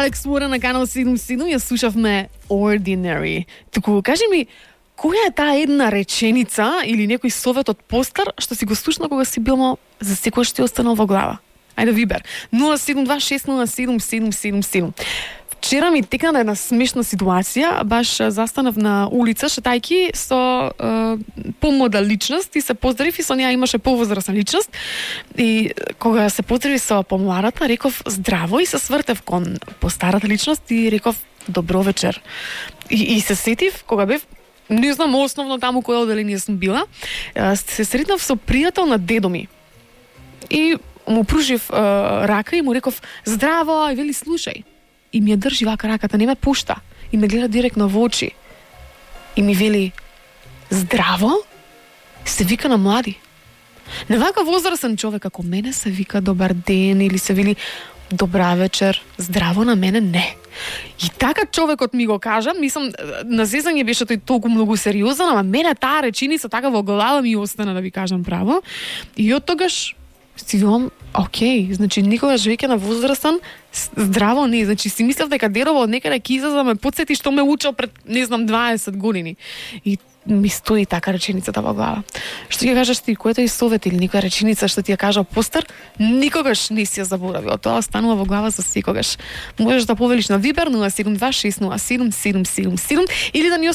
Алекс Уорен на канал 77, ја слушавме Ordinary. Туку, кажи ми, која е таа една реченица или некој совет од постар што си го слушнал кога си бил за секојаш ти останал во глава? Ајде вибер. 072607777. Вчера ми текна една смешна ситуација, баш застанав на улица шетајки со помода личност и се поздравив и со неа имаше повозрасна личност и кога се поздрави со помладата реков здраво и се свртев кон постарата личност и реков добро вечер. И се сетив кога бев не знам основно таму кој оделение сум била, се сретнав со пријател на дедо ми. И му пружив рака и му реков здраво и вели слушај. И ми ја држи вака раката, не ме пушта. И ме гледа директно во очи. И ми вели, здраво? Се вика на млади. На вака возрастен човек, како мене се вика добар ден или се вели добра вечер, здраво на мене не. И така човекот ми го кажа, мислам, на зезање беше тој толку многу сериозен, ама мене таа реченица така во глава ми остана, да ви кажам право. И од тогаш си велам, окей, значи никогаш веќе на возрастен здраво не, значи си мислев дека дедово од некаде ќе излезе да ме потсети што ме учел пред, не знам, 20 години. И ми стои така реченицата во глава. Што ќе кажеш ти, којато и совет или некоја реченица што ти ја кажа постар, никогаш не си ја заборавил. Тоа останува во глава за секогаш. Можеш да повелиш на Вибер 072607777 или да ни